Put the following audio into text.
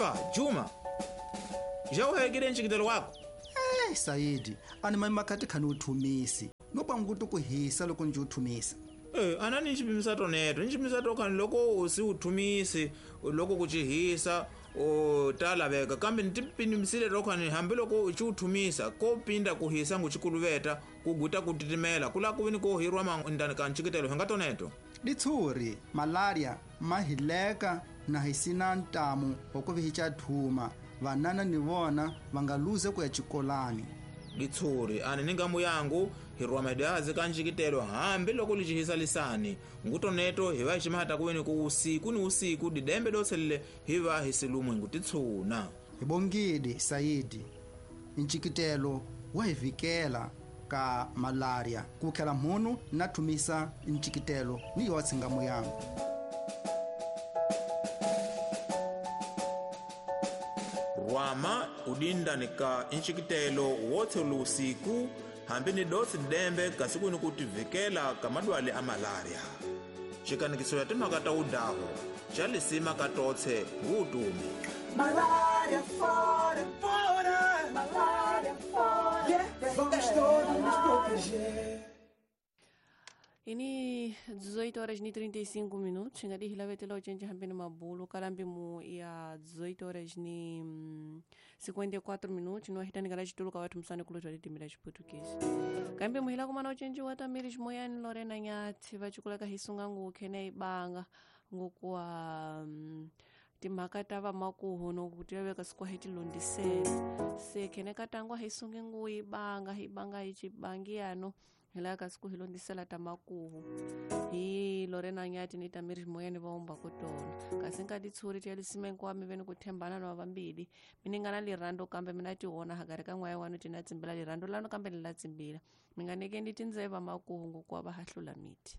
Epa Juma, já uhegile ncikitelo wako? Saidi, ani mani makhati khani uthumisi. No pangutu kuhisa loko nje uthumisa. Anani nchipimisa toneto, nchipimisa tokhani loko usi uthumisi, loko kuchihisa, o talaveka kambe ntipimisile tokhani hambi loko uchiuthumisa ko pinda kuhisa nguchikuluveta kuguta kutitimela kula kuvini ko hirwa mandani ka ncikitelo hinga toneto. Ditshuri, malaria, mahileka na hisina ntamu wakuvihicha thuma. Vanana ni vona vangaluze kuya chikolani. Ditshuri, ani ni ngamu yangu hirwa madazi ka ncikitelo hambi loko lichihisa lisani ngutoneto hiva ximata kuveni ku usiku ni usiku didembe doselele hiva hisilumwe ngutitshuna. Hibongidi Saidi, ncikitelo wa hivikela ka malaria kukhela mhunu na thumisa ncikitelo ni yotse ngamu yangu. Rwama udindani ka ncikitelo wotse lusiku hambi ni dotsi dembe kasi kuni kutivikela ka madwale a malaria. Xikanikiso ya timhaka ta udaho xa lisima ka totse ngutumi. Malaria fora, fora, malaria fora. Yeah, vamos todos nos proteger. Ini 18 horas e 35 minutos, ngadi hilavetela ochenje hambeni mabulu kalambi mu ya 18 horas e 54 minutos no hitani kala chituluka watu msane kulotwa litimira chiportuguese. Kambe muhila kumana ochenje watamiri moyani Lorena Nyathi vachikulaka hisunga ngukhene ibanga ngokuwa timhaka ta va makuhu no kuti veka sikwa hi tilondisela se khene katangwa hisunge ngu ibanga ibanga hichibangi yano hila kasi hilondisela ta makuhu hi Lorena Nyathi ni Tamiri moyani va umba kutona kasi nka ditshuri tya lisimenko wa mi veni ku thembana na vambili mi nga na lirando kambe mina tiona hagari ka n'waya wanu tina tsimbila lirando lano kambe ni la tsimbila mi nga nekeni tindzeva makuhu ngokuwa va hahlula miti.